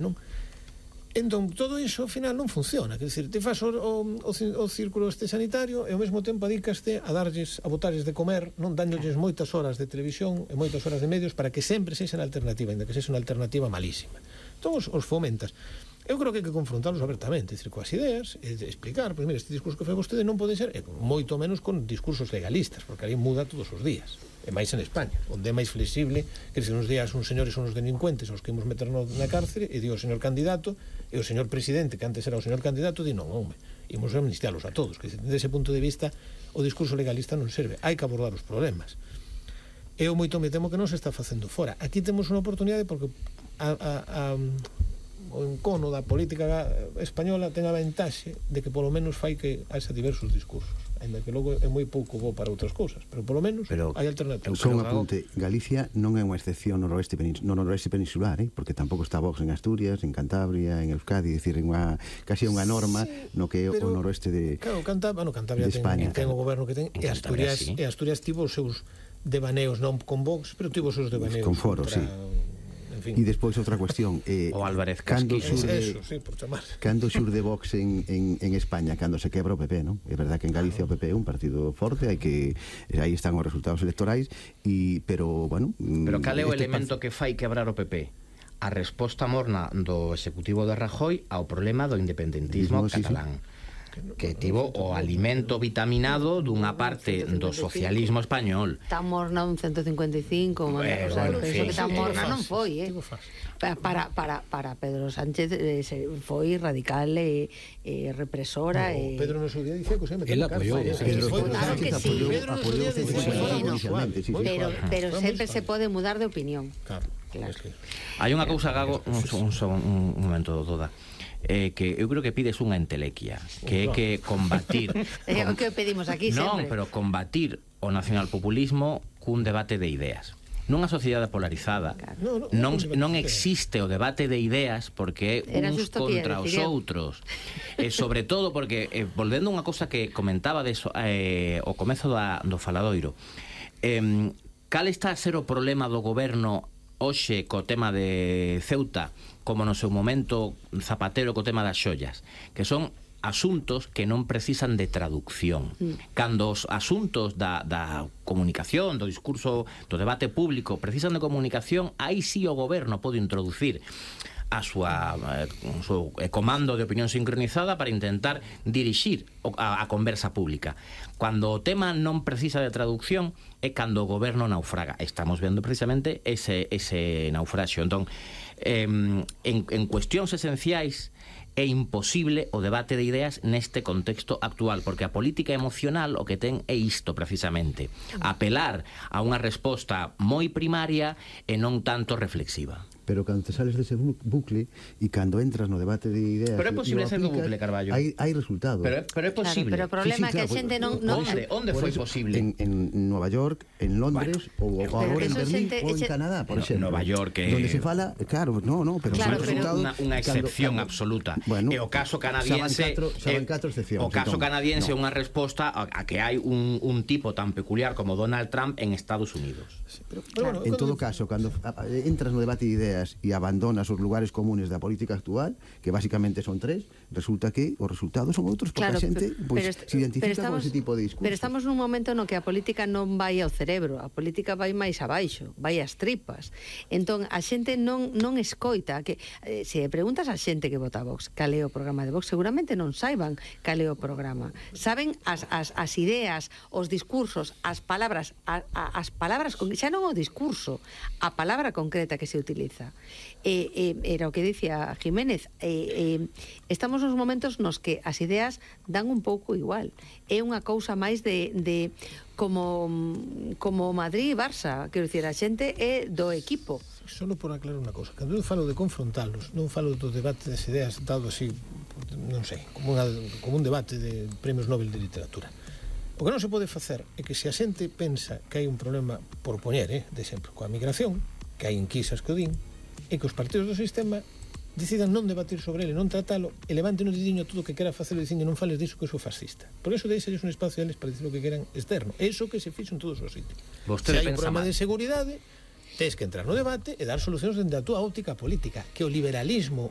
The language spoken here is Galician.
non? Entón, todo iso, ao final, non funciona. Quer dizer, te faz o círculo este sanitario e ao mesmo tempo adicaste a botarles de comer, non dándoles moitas horas de televisión e moitas horas de medios para que sempre sexan alternativa, ainda que sexa unha alternativa malísima. Entón, os fomentas. Eu creo que hai que confrontarlos abertamente, decir, coas ideas, e explicar, pois, mira, este discurso que fai vostede non pode ser, moito menos con discursos legalistas, porque ali muda todos os días, e máis en España, onde é máis flexible, que se uns días uns señores son os delincuentes aos que imos meternos na cárcere, e di o señor candidato, e o señor presidente, que antes era o señor candidato, di non, home, imos amnistialos a todos, que desde ese punto de vista o discurso legalista non serve, hai que abordar os problemas. Eu moito me temo que non se está facendo fora. Aquí temos unha oportunidade porque o encono da política española ten a ventaxe de que polo menos fai que haxa diversos discursos, ainda que logo é moi pouco bo para outras cousas, pero polo menos hai alternativas. Só un apunte, Galicia non é unha excepción no noroeste peninsular, porque tampouco está Vox en Asturias, en Cantabria, en Euskadi, dicir, casi unha norma no que é o noroeste de España. Ten o goberno que ten, e Asturias tivo os seus devaneos non con Vox, pero tivo os seus devaneos con Foro, sí. E despois outra cuestión, o Álvarez Casquillo, cando xurde Vox en España, cando se quebra o PP, non? É verdad que en Galicia o PP é un partido forte, aí están os resultados electorais, pero bueno, pero cal é o elemento que fai quebrar o PP? A resposta morna do executivo de Rajoy ao problema do independentismo catalán, que tivo o alimento vitaminado dunha parte do socialismo español. Tan morna un 155, penso que tan morna non foi, para Pedro Sánchez foi radical e represora. Pedro no seu día dicía que él apoyou. Claro que sí, pero sempre se pode mudar de opinión. Claro. Hai unha cousa, Gago, un momento, Doda, que eu creo que pides unha entelequia, que é que combatir é o que pedimos aquí sempre. Non, pero combatir o nacionalpopulismo cun debate de ideas. Nunha sociedade polarizada non existe o debate de ideas porque é uns contra os outros, e sobre todo porque, volvendo a unha cousa que comentaba o comezo do faladoiro, cal está a ser o problema do goberno hoxe co tema de Ceuta, como no seu momento Zapatero co tema das xollas, que son asuntos que non precisan de traducción. Cando os asuntos da comunicación, do discurso, do debate público precisan de comunicación, aí sí o goberno pode introducir a súa comando de opinión sincronizada para intentar dirixir a conversa pública. Cuando o tema non precisa de traducción é cando o goberno naufraga. Estamos vendo precisamente ese naufraxio. Entón, en cuestións esenciais é imposible o debate de ideas neste contexto actual, porque a política emocional o que ten é isto precisamente, apelar a unha resposta moi primaria e non tanto reflexiva. Pero cando te sales dese bucle e cando entras no debate de ideas, pero é posible ser do bucle, Carballo. Hai resultados. Pero é posible. Pero o problema é que a xente non... Onde foi posible? En Nova York, en Londres, ou agora en Berlín, ou en Canadá, por exemplo. Nova York é... Donde se fala, claro, pero unha excepción absoluta. E o caso canadiense o caso canadiense é unha resposta a que hai un tipo tan peculiar como Donald Trump en Estados Unidos. En todo caso, cando entras no debate de ideas e abandonas os lugares comunes da política actual, que basicamente son tres, resulta que os resultados son outros, porque a xente se identifica con ese tipo de discurso. Pero estamos nun momento no que a política non vai ao cerebro, a política vai máis abaixo, vai ás tripas. Entón, a xente non escoita, que se preguntas a xente que vota Vox cal é o programa de Vox, seguramente non saiban cal é o programa. Saben as ideas, os discursos, as palabras, xa non o discurso, a palabra concreta que se utiliza. Era o que dicía Jiménez, estamos nos momentos nos que as ideas dan un pouco igual, é unha cousa máis de como Madrid e Barça, quero dicir, a xente é do equipo. Solo por aclarar unha cousa, cando eu falo de confrontalos, non falo do debate das ideas dado así, non sei, como un debate de premios Nobel de literatura. O que non se pode facer é que se a xente pensa que hai un problema, por poñer, de exemplo, coa migración, que hai enquisas que o din, e que os partidos do sistema decidan non debatir sobre ele, non tratalo, e levanten o dediño a todo o que quera facer e dicen non fales diso que iso é fascista. Por eso deixalles un espacio a eles para dicir o que queran externo. É iso que se fixo en todos os sitios. Se hai un problema de seguridade, Tens que entrar no debate e dar solucións dende a túa óptica política, que o liberalismo